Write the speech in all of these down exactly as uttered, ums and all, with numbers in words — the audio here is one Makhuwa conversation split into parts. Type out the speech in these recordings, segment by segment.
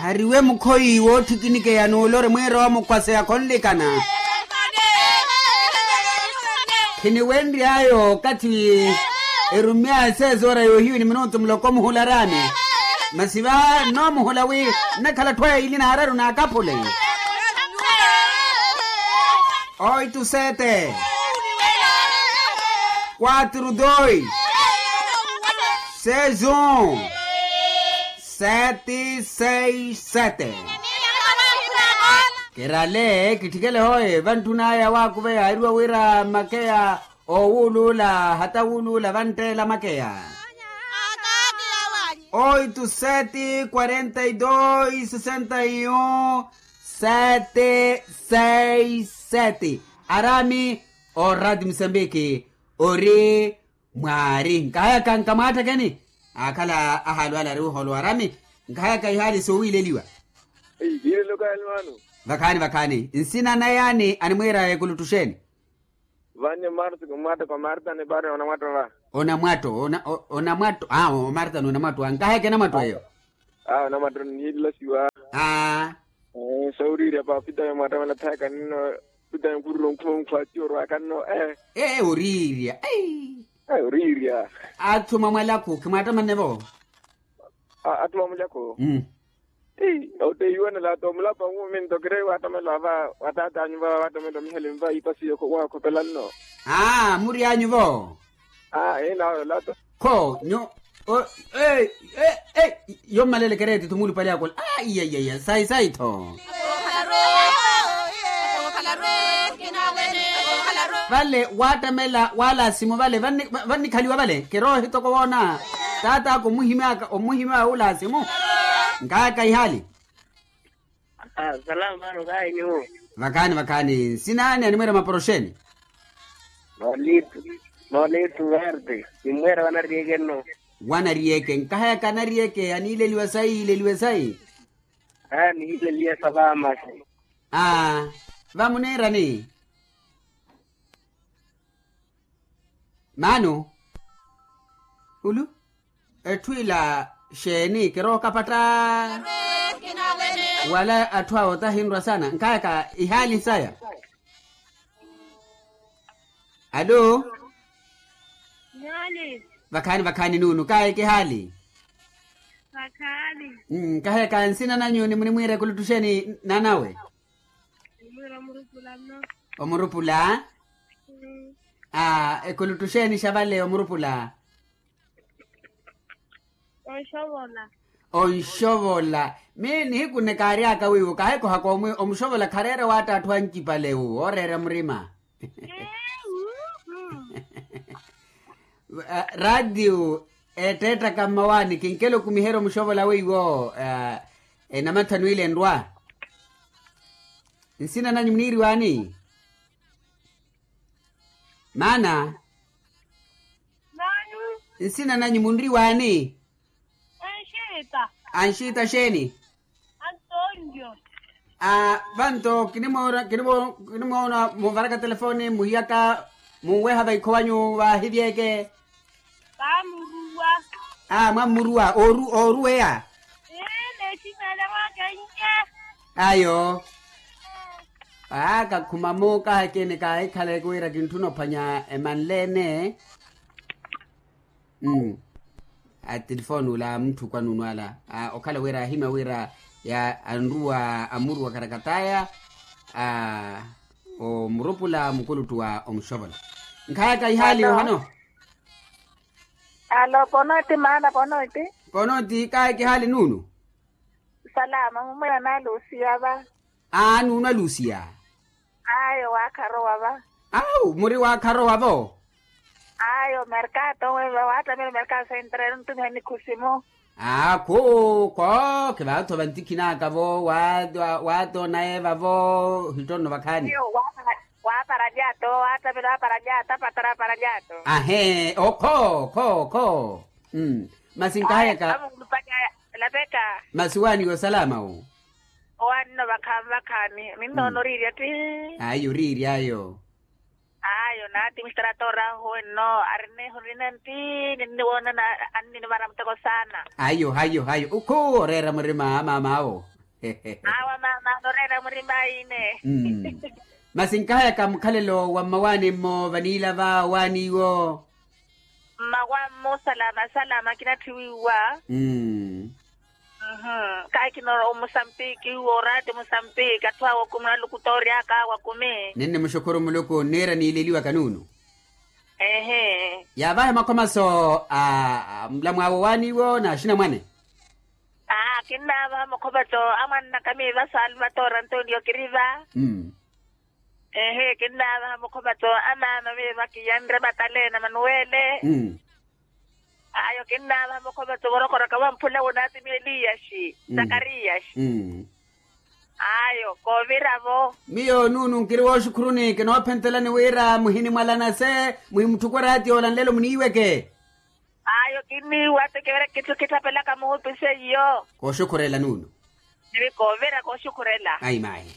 Ariwe mukhoyi woottikinikeya n'ulori mwiira omukhwaseya khonlikana. Khiniwenry'aya okathi erumy'aya sezoora yoohiyu ni minutu muloko muhula araani. Masi va nnoomuhula wi nnakhala atthu aya ili n'araru n'akaphule. Oito sete, quatro dois, seis um, sete seis sete. Kirale kitthikele hooye vantthun'aya waakuveya airiwa wira makeya owuuluula hata wuuluula vantteela makeya. Oito sete quarenta e dois sessenta e um sete seis sete. Arami o rati musambiki ori mwaari nkahayaka nkamwaatthakeni. Aakhala ahaalu ale ari oholo arami nkahayaka ihaali soowiileliwa. Iilelo kaali mwaanu. Vakhaani vakhaani nsina na yaani animwiira ekuluttuxeeni. Vanyu marta kumwatta kwa marta ni pari onamwatta va. Onamwatto onamwatto a omarta n'onamwatto a nkaheke namwatto eyo. A onamwatto niilasiwa. A sooriirya pa opitali mwattamela thayaka ninno. Opitali nkhururo nkhunkhwa atiyo orwaka nno. Ee oriirya. Oriirya. Atthu mamwalakhu khimwattamane vo. Atthu mamwalakhu. Ii otteiwanela to mulapa wuumi nto kiri waattamela va wataat'anyu va waattamela mihali nva iipasi yoko waakhopela nno. Aa muri anyu vo. Aa ina ola to. Kho nyu. Yommaleele kereeti tho muulupale akola. Aa iya iya iya sayi sayi tho. Vale waattamela waalasimu vale vannikhaliwa vale kiroohi toko woona. Taat'aka omuhimyaka omuhimyaka wulasimu. Nkaaka ihaali. Salama mano kahi nyuwo. Vakhaani vakhaani nsina ani animweera maporoxeeni. Nolitu nolitu verde nimweera vanariyeke nno. Wanariyeke nkahayaka anariyeke aniileliwa sayi iileliwe sayi. Aa nihiileliya sa vaamasi. Aa vamuniirani. Maano ulu etthu ila xeeni kirookapatta. Wala atthu awo tahinrwa saana nkayaka ihaali saya. Alo. Vakhaani vakhaani nuunu kaye kihaali. Nkaheka nsina nanyu ni munimwiira ekuluttu xeeni naanawe? Omurupula. Aa ekuluttu xeeni xa vale omurupula? Onxovola. Onxovola. Mi nihiku nne kaaryaka wiiwo kahekhohaka omuxovola khareera waatta atthu ancipale wu ooreera murima. Raatiyo eetteettaka mmawaani kinkela okumiherya omuxovola weiwo. Enamathanu ile enrwa. Nsina nanyu muniiriwaani? Maana. Nsina nanyu munriwaani? Anxiita. Anxiita xeeni? Antonio. Vanto kinimoona kinimoona munvaraka telefoni muhiyaka munweha vaikho wanyu vaahivyeke. Vaamuruwa. Mwammuruwa ooruweya. Ayo. Aa kakhuma muukahekeni kaahikhaleke wira kintthuna ophwanya emanleene. Atilifoni ula a mutthu kwanuunu ala okhala wira ahimya wira anruwa amuruwa karakataya. Omurupula mukuluttu wa omuxovola. Nkhayaka ihaali yohano. Alo ponoti maana ponoti. Ponoti kaye kihaali nuunu. Salama mumwira nalusiya va. Aa nuunwa lusiya. Ayo waakharowa va. Awu muri waakharowa vo. Ayo merkato weva waattamela merkato sentrelo ntumiha nikhusimu. Aa khu kho khivaatho vantikhinaka vo. Waatoona eva vo. Hittonno vakhaani. Waapara lyato waattamela waapara lyato apatara apara lyato. Ahee okho kho kho. Masi nkahayaka. Masi waaniwe osalama wu. Owaanino vakhaani vakhaani ninnoona oriirya ti. Ayo oriirya ayo. Ayo naati mistarato orahu enno ari nihurina nti ninniwoonana. Anninivara muteko saana. Ayo hayo hayo ukhu oreera murima a maam'awo. Awa mama anoreera murima aine. Masi nkahayaka mukhalelo wa mmawaani-mmo vaniilava owaani iwo. Mmawaani-mmo salama salama kinatthiwiwa. Kaakina omusampiki iwo oraati musampiki atthu awo kumi alukutoori aka awo akumi. Ninnimuxukhuru muluku nniira niileliwaka nuunu. Ehe. Yaavahe makhomaso a mulamwaawe owaani iwo na axinamwane. Aa kinnaavaha mukhomaso a mwannaka miiva saalvatoora antonio kiriva. Ehe kinnaavaha mukhomaso a maama miiva kiyanre mataleena manuwele. Ayo kinnaavaha mukhomaso vorokoraka wamphula wunaatimi eliyaxi zakariyaxi. Ayo kooviravo. Miyo nuunu nkiri wooxukhuruni kinoophentelani wira muhinimwalana se muhimutthuku araati yoola nlelo muniiweke. Ayo kinniiwa ti kivere kitthu kitthapelaka muhupi seiyo. Kooxukhurela nuunu. Nivi koovira kooxukhurela. Ayi maayi.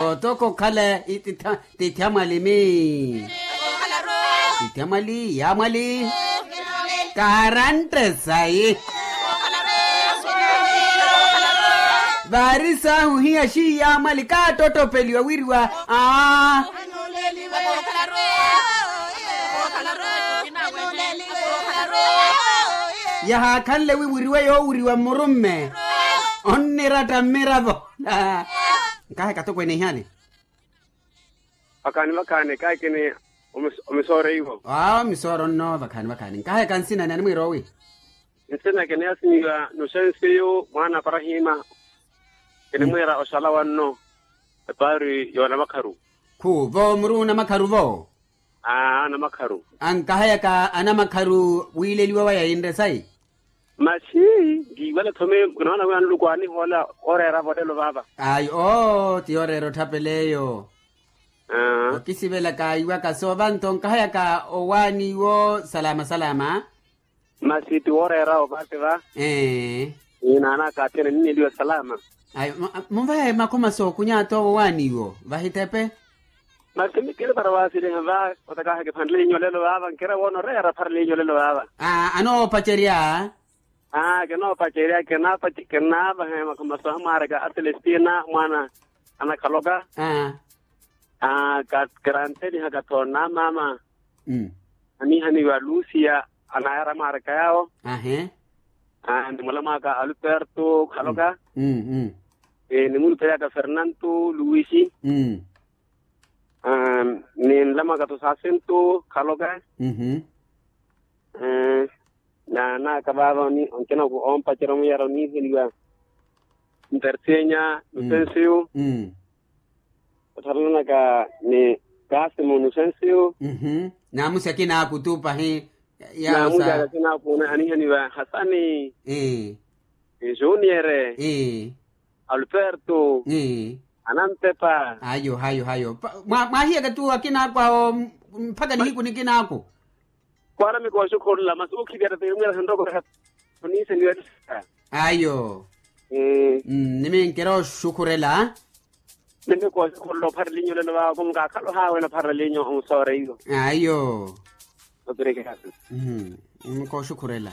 Otoko okhala ititha tithyamwali mi tithyamwali yaamwali. Karantte sayi. Vaari saahu hiya xiiyaamwali kaattottopeliwa wiriwa. Aa yahaakhanle wi wiriwe yoowiriwa mmurumme onniratta mmiravo. Nkaheka atokweene ihali. Vakhaani vakhaani kaakini omisooreiwo. Aa omisooro nno vakhaani vakhaani nkaheka nsina ni animwiira owi? Nsina kiniyasimiwa nusensiyu mwaana aparahima. Kinimwiira oxala wanno epaari y'onamakharu. Khu vo muri onamakharu vo? Aa anamakharu. Ankahayaka anamakharu wiileliwa waya yinre sayi. Masi nkiiwela thome kinoona wi anuluku anihoola oreera volelo vaava. Ayi oo ti yoreera otthapela eyo. Okisivelaka iwaka soova nto nkahayaka owaani iwo salama salama. Masi ti wooreera ovaati va. Ee. Naanaka athene ninneliwa salama. Ayi munvahe makhomaso okunya ato owaani iwo vahitepe. Masi mi kiri para waasiliha va otakaha kiphanle inyo lelo vaava nkira woona oreera pharle inyo lelo vaava. Anoopacerya. Aa kinoopacerya kinaavahe makhomaso amwaaraka a celestina mwaana anakhaloka. Aa kiranteliha kathoona amaama. Anihaniwa lucia anayara mwaaraka yaawo. Ni mulamwaka alberto khaloka. Ni mulupelaka fernanto luisi. Ni nlamwaka to sasento khaloka. Naanaka vaava onkina oompacerya omuyara oniiheliwa. Ntertenya nusensiyo. Otthalanaka ni kaasimu nusensiyo. Naamusi akinaaku tu pahi. Naamusi akinaaku anihaniwa hasani. Juniere. Alberto. Anampepa. Hayo hayo hayo. Mwaahiyaka tu akinaaku awo mpakha nihiku nikinaaku. Kwaarami kooxukhurula masi ookhiviya tateimwira sanroko. Ayo. Niminkira oxukhurela. Nimi kooxukhurela opharela inyu olelo vaava kumukaakhalo haawe napharela inyu omusooreiyo. Ayo. Nimi kooxukhurela.